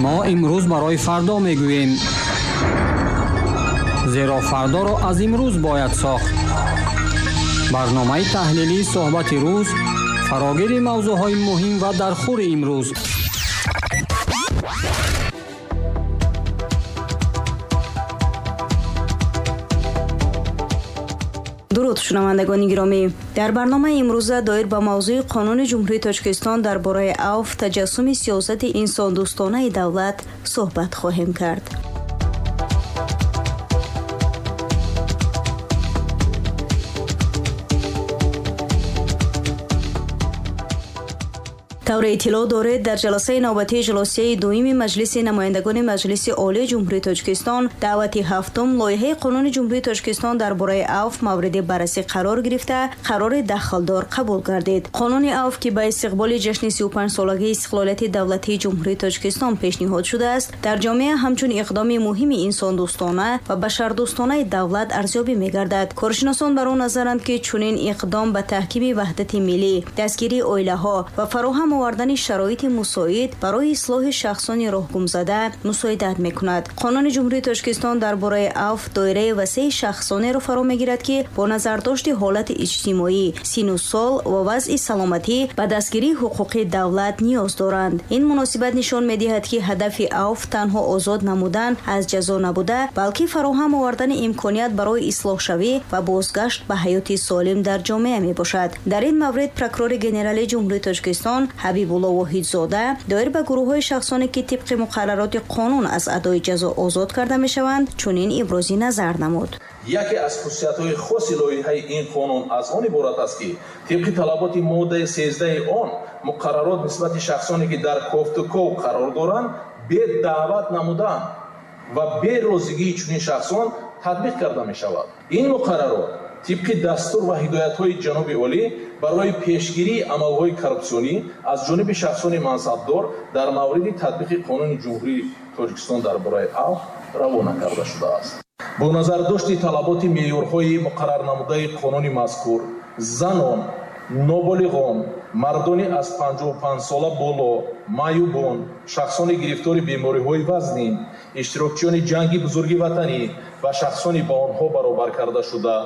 Мо имрӯз барои фардо мегӯем, зеро фардоро аз имрӯз бояд сохт. Барномаи таҳлилии суҳбати рӯз, фарогири мавзӯъҳои муҳим ва дархӯри имрӯз. Дуруд, шунавандагони гиромӣ. Дар барномаи имрӯза доир ба мавзӯи Қонуни Ҷумҳурии Тоҷикистон дар бораи авф, таҷассуми сиёсати инсондӯстонаи давлат суҳбат хоҳем кард. Тавре иттилоъ доред, дар ҷаласаи навбатии ҷалосияи дуюми Маҷлиси намояндагони Маҷлиси Олии Ҷумҳурии Тоҷикистон даъвати ҳафтум лоиҳаи Қонуни Ҷумҳурии Тоҷикистон дар бораи авф мавриди баррасӣ қарор гирифта, қарори дахлдор қабул гардид. Қонуни авф, ки ба истиқболи ҷашни 35-солагии истиқлолияти давлатии Ҷумҳурии Тоҷикистон пешниҳод шудааст, дар ҷомеа ҳамчун иқдоми муҳими инсондӯстона ва башардӯстонаи давлат арзёбӣ мегардад. Коршиносон бар он назаранд, ки чунин иқдом ба таҳкими ваҳдати миллӣ, дастгирии оилаҳо ва фароҳам овардани шароити мусоид барои ислоҳи шахсони роҳгумзада мусоидат мекунад. Қонуни Ҷумҳурии Тоҷикистон дар бораи авф доираи васеи шахсонеро фаро мегирад, ки бо назардошти ҳолати иҷтимоӣ, сину сол ва вазъи саломатӣ ба дастгирии ҳуқуқии давлат ниёз доранд. Ин муносибат нишон медиҳад, ки ҳадафи авф танҳо озод намудан аз ҷазо набуда, балки фароҳам овардани имконият барои ислоҳшавӣ ва бозгашт ба ҳаёти солим дар ҷомеа мебошад. Дар ин маврид прокурори генералии Ҷумҳурии Тоҷикистон Ҳабибулло Воҳидзода доир ба гурӯҳҳои шахсоне, ки тибқи муқаррароти қонун аз адои ҷазо озод карда мешаванд, чунин ибрози назар намуд. Яке аз хусусиятҳои хоси лоиҳаи ин қонун аз он иборат аст, ки тибқи талаботи моддаи 13 он муқаррарот нисбати шахсоне, ки дар кофтуков қарор доранд, бе даъват намудан ва бе розигии чунин шахсон татбиқ карда мешавад. Ин муқаррарот тибқи дастур ва ҳидоятҳои ҷаноби олӣ барои пешгирии амалҳои коррупсионӣ аз ҷониби шахсони мансабдор дар мавриди татбиқи Қонуни Ҷумҳурии Тоҷикистон дар бораи авф равона карда шудааст. Бо назардошти талаботи меъёрҳои муқаррарнамудаи қонуни мазкур, занон, ноболиғон, мардони аз 55 сола боло, маъюбон, шахсони гирифтори бемориҳои вазнин, иштирокчиёни ҷанги бузурги ватанӣ ва шахсони ба онҳо баробар карда шуда,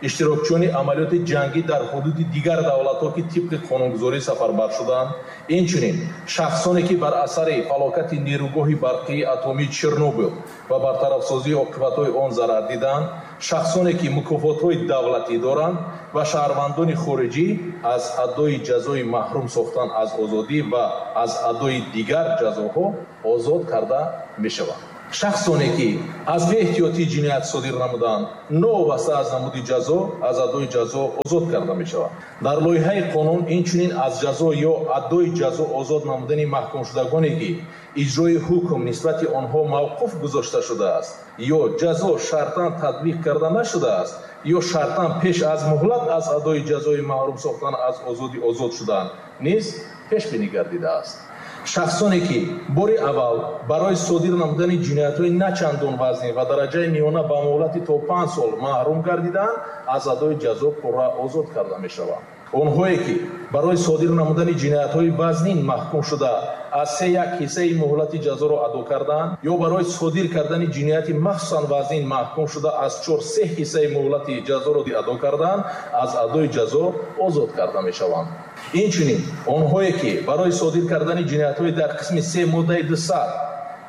иштирокчиёни амалиёти ҷангӣ дар ҳудуди дигар давлатҳо, ки тибқи қонунгузорӣ сафарбар шуданд, инчунин шахсоне, ки бар асари фалокати нерӯгоҳи барқии атомии Чернобил ва бартарафсозии оқибатҳои он зарар диданд, шахсоне, ки мукофотҳои давлатӣ доранд ва шаҳрвандони хориҷӣ аз адои ҷазои маҳрум сохтан аз озодӣ ва аз адои дигар ҷазоҳо озод карда мешаванд. Шахсоне, ки аз беэҳтиётӣ ҷиноят содир намуданд, новобаста аз намуди ҷазо, аз адои ҷазо озод карда мешаванд. Дар лоиҳаи қонун инчунин аз ҷазо ё адои ҷазо озод намудани маҳкумшудагоне, ки иҷрои ҳукм нисбати онҳо мавқуф гузошта шудааст ё ҷазо шартан татбиқ карда нашудааст ё шартан пеш аз муҳлат аз адои ҷазои маҳрум сохтан аз озодӣ озод шуданд, низ пешбинӣ гардидааст. Шахсоне, ки бори аввал барои содир намудани ҷиноятҳои начандон вазнин ва дараҷаи миёна ба муҳлати то 5 сол маҳрум гардиданд, аз адои ҷазо пурра озод карда мешаванд. Онҳое, ки барои содир намудани ҷиноятҳои вазнин маҳкум шуда, аз 3-1 ҳиссаи муҳлати ҷазоро адо карданд ё барои содир кардани ҷинояти махсусан вазнин маҳкум шуда, аз 4-3 ҳиссаи муҳлати ҷазоро адо карданд, аз адои ҷазо озод карда мешаванд. Инчунин онҳое, ки барои содир кардани ҷиноятҳои дар қисми 3 моддаи 200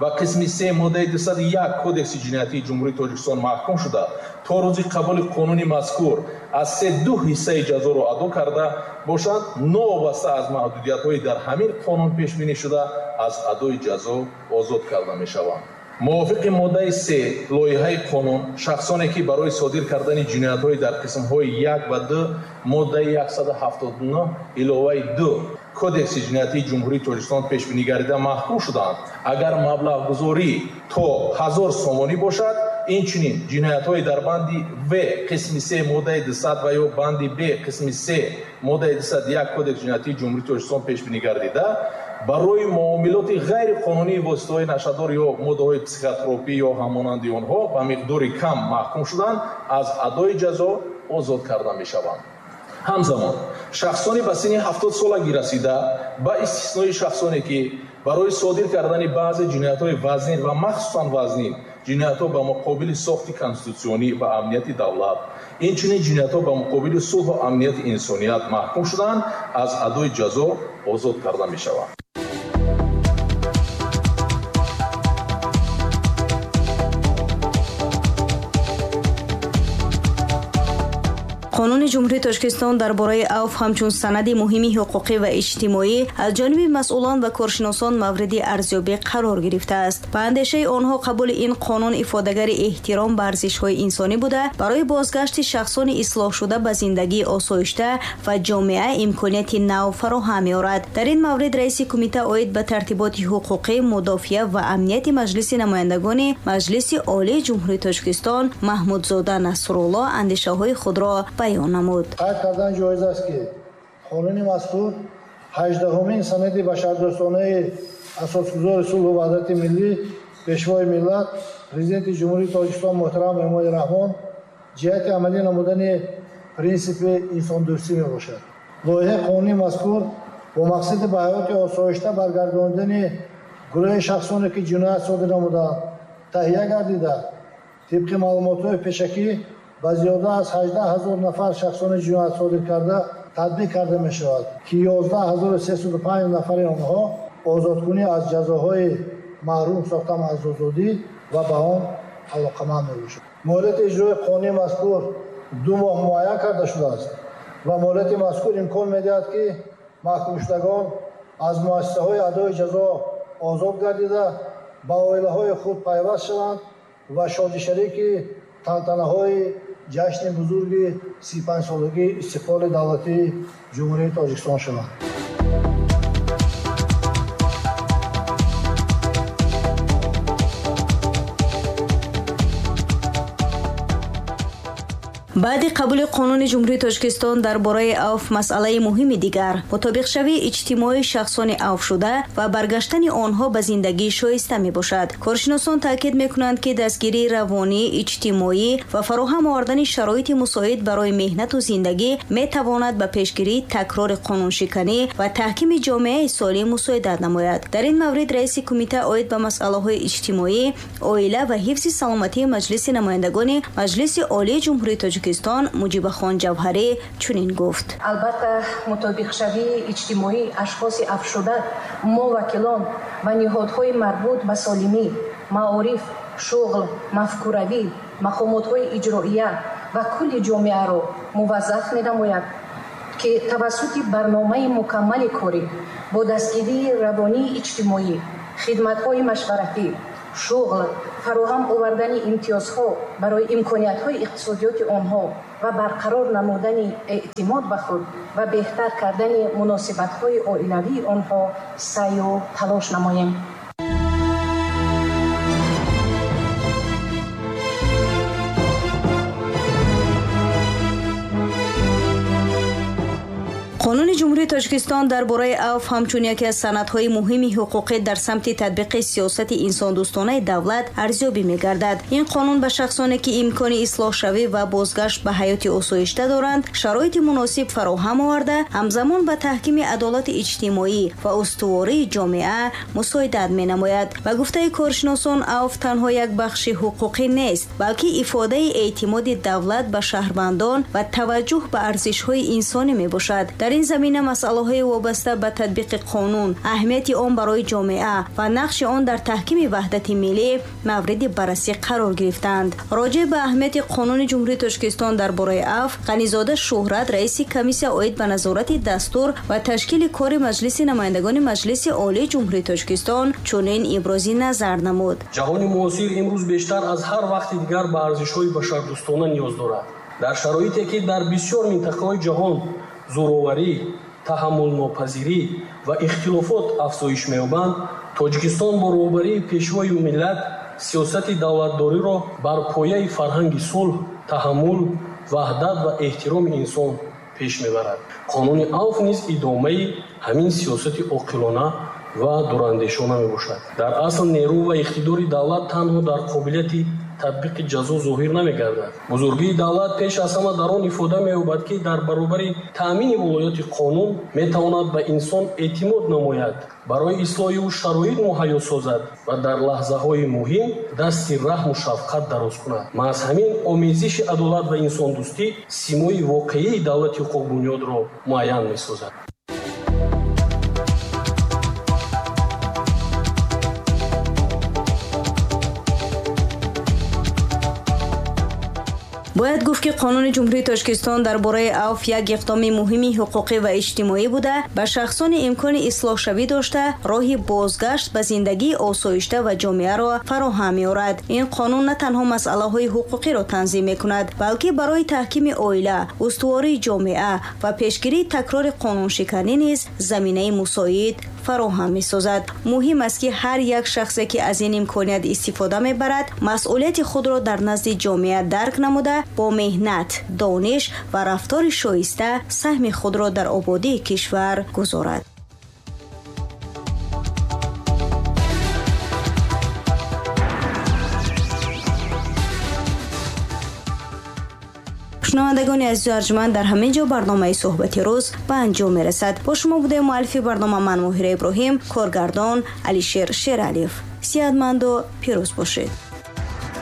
ва қисми 3 моддаи 201 Кодекси ҷиноятии Ҷумҳурии Тоҷикистон маҳкум шуда, то рӯзи қабули қонуни мазкур аз 3-2 ҳиссаи ҷазоро адо карда бошанд, новобаста аз маҳдудиятҳои дар ҳамин қонун пешбинӣ шуда, аз адои ҷазо озод карда мешаванд. Мувофиқи моддаи 3 лоиҳаи қонун, шахсоне, ки барои содир кардани ҷиноятҳои дар қисмҳои 1 ва 2 моддаи 179 иловаи 2 Кодекси ҷиноятии Ҷумҳурии Тоҷикистон пешбинӣ гардида маҳкум шуданд, агар маблағгузорӣ то 1000 сомонӣ бошад, инчунин ҷиноятҳои дар банди В қисми 3 моддаи 200 ва ё банди Б қисми 3 моддаи 201 Кодекси ҷиноятии Ҷумҳурии Тоҷикистон пешбинӣ гардида, барои муомилоти ғайриқонунии воситаҳои нашъадор ё моддаҳои психотропӣ ё ҳамонанди онҳо ба миқдори кам маҳкум шуданд, аз адои ҷазо озод карда мешаванд. Ҳамзамон шахсони ба синни 70 солагӣ расида, ба истиснои шахсоне, ки Барои содир кардани баъзе ҷиноятҳои вазнин ва махсусан вазнин, ҷиноятҳо ба муқобили сохти конститутсионӣ ва амнияти давлат, инчунин ҷиноятҳо ба муқобили сулҳу амнияти инсоният маҳкум шуданд, аз адои ҷазо озод карда мешаванд. Қонуни Ҷумҳурии Тоҷикистон дар бораи авф ҳамчун санади муҳими ҳуқуқӣ ва иҷтимоӣ аз ҷониби масъулон ва коршиносон мавриди арзёбӣ қарор гирифтааст. Ба андешаи онҳо қабули ин қонун ифодагари эҳтиром ба арзишҳои инсонӣ буда, барои бозгашти шахсони ислоҳшуда ба зиндагии осоишта ва ҷомеа имконияти нав фароҳам меорад. Дар ин маврид раиси кумита оид ба тартиботи ҳуқуқӣ, мудофиа ва амнияти Маҷлиси намояндагони Маҷлиси Олии Ҷумҳурии Тоҷикистон Маҳмудзода Насрулло андешаҳои худро баён намуд. Қайд кардан ҷоиз аст, ки қонуни мазкур 18-умин санади башардӯстонаи асосгузори сулҳу ваҳдати миллӣ, Пешвои миллат, Президенти Ҷумҳурии Тоҷикистон муҳтарам Эмомалӣ Раҳмон ҷиҳати амалӣ намудани принсипи инсондӯстӣ мебошад. Лоиҳаи қонуни мазкур бо мақсади ба ҳаёти осоишта баргардонидани гурӯҳи шахсоне, ки ҷиноят содир намуданд, таҳия гардида, тибқи маълумотҳои пешакӣ ба зиёда аз 18 000 нафар шахсони ҷиноят содир карда татбиқ карда мешавад, ки 11 305 нафари онҳо озодкунӣ аз ҷазоҳои маҳрум сохтан аз озодӣ ва ба он алоқаманд мебошад. Муҳлати иҷрои қонуни мазкур 2 моҳ муайян карда шудааст ва муҳлати мазкур имкон медиҳад, ки маҳкумшудагон аз муассисаҳои адои ҷазо озод гардида, ба оилаҳои худ пайваст шаванд ва шодишарики тантанаҳои ҷашни бузурги 35-солагии истиқлоли давлатии Ҷумҳурии Тоҷикистон шаванд. Баъди қабули қонуни Ҷумҳурии Тоҷикистон дар бораи авф, масъалаи муҳими дигар мутобиқшавии иҷтимоии шахсони авфшуда ва баргаштани онҳо ба зиндагии шоиста мебошад. Коршиносон таъкид мекунанд, ки дастгирии равонӣ, иҷтимоӣ ва фароҳам овардани шароити мусоид барои меҳнату зиндагӣ метавонад ба пешгирии такрори қонуншиканӣ ва таҳкими ҷомеаи солим мусоидат намояд. Дар ин маврид раиси кумита оид ба масъалаҳои иҷтимоӣ, оила ва ҳифзи саломатии Маҷлиси намояндагони Маҷлиси Олии Ҷумҳурии Тоҷикистон Муҷибахон Ҷавҳарӣ чунин гуфт. Албатта, мутобиқшавии иҷтимоии ашхоси афшуда мо, вакилон ва ниҳодҳои марбут ба солимӣ, маориф, шуғл, мафкуравӣ, мақомотҳои иҷроия ва кулли ҷомеаро муваззаф менамояд, ки тавассути барномаи мукаммали корӣ бо дастгирии равонии иҷтимоӣ, хидматҳои машваратӣ, шуғл, фароҳам овардани имтиёзҳо барои имкониятҳои иқтисодиёти онҳо ва барқарор намудани эътимод ба худ ва беҳтар кардани муносибатҳои оилавии онҳо саъю талош намоем. Қонуни Ҷумҳурии Тоҷикистон дар бораи авф ҳамчун яке аз санадҳои муҳими ҳуқуқӣ дар самти татбиқи сиёсати инсондӯстонаи давлат арзёбӣ мегардад. Ин қонун ба шахсоне, ки имкони ислоҳшавӣ ва бозгашт ба ҳаёти осоишта доранд, шароити муносиб фароҳам оварда, ҳамзамон ба таҳкими адолати иҷтимоӣ ва устувории ҷомеа мусоидат менамояд. Ба гуфтаи коршиносон, авф танҳо як бахши ҳуқуқӣ нест, балки ифодаи эътимоди давлат ба шаҳрвандон ва таваҷҷӯҳ ба арзишҳои инсонӣ мебошад. Дар ин замина масъалаҳои вобаста ба татбиқи қонун, аҳамияти он барои ҷомеа ва нақши он дар таҳкими ваҳдати миллӣ мавриди баррасӣ қарор гирифтаанд. Роҷеъ ба аҳамияти қонуни Ҷумҳурии Тоҷикистон дар бораи авф Ғанизода Шӯҳрат, раиси комиссия оид ба назорати дастур ва ташкили кори Маҷлиси намояндагони Маҷлиси Олии Ҷумҳурии Тоҷикистон, чунин ибрози назар намуд. Ҷаҳони муосир имрӯз бештар аз ҳар вақти дигар ба арзишҳои башардӯстона ниёз дорад. Дар шароите, ки дар бисёр минтақаҳои ҷаҳон зӯроварӣ, таҳаммулнопазирӣ ва ихтилофот афзоиш меёбанд, Тоҷикистон бо роҳбарии Пешвои миллат сиёсати давлатдориро бар пояи фарҳанги сулҳ, таҳаммул, ваҳдат ва эҳтироми инсон пеш мебарад. Қонуни авф низ идомаи ҳамин сиёсати оқилона ва дурандешона мебошад. Дар асл, нерӯ ва иқтидори давлат танҳо дар қобилияти татбиқи ҷазо зоҳир намегардад. Бузургии давлат пеш аз ҳама дар он ифода меёбад, ки дар баробари таъмини волояти қонун метавонад ба инсон эътимод намояд, барои ислоҳи ӯ шароит муҳайё созад ва дар лаҳзаҳои муҳим дасти раҳму шафқат дароз кунад. Маҳз ҳамин омезиши адолат ва инсондӯстӣ симои воқеии давлати ҳуқуқбунёдро муайян месозад. Бояд гуфт, ки Қонуни Ҷумҳурии Тоҷикистон дар бораи авф як иқдоми муҳими ҳуқуқӣ ва иҷтимоӣ буда, ба шахсони имкони ислоҳшавӣ дошта, роҳи бозгашт ба зиндагии осоишта ва ҷомеаро фароҳам меорад. Ин қонун на танҳо масъалаҳои ҳуқуқиро танзим мекунад, балки барои таҳкими оила, устувории ҷомеа ва пешгирии такрори қонуншиканӣ низ заминаи мусоид фароҳам месозад. Муҳим аст, ки ҳар як шахсе, ки аз ин имконият истифода мебарад, масъулияти худро дар назди ҷомеа дарк намуда, бо меҳнат, дониш ва рафтори шоиста саҳми худро дар ободии кишвар гузорад. Шунавандагони азизу арҷманд, дар ҳамин ҷо барномаи «Суҳбати рӯз» ба анҷом мерасад. Бо шумо будаем муаллифи барнома ман, Моҳира Иброҳим, коргардон Алишер Шералиев. Сиҳатманду пирӯз бошед.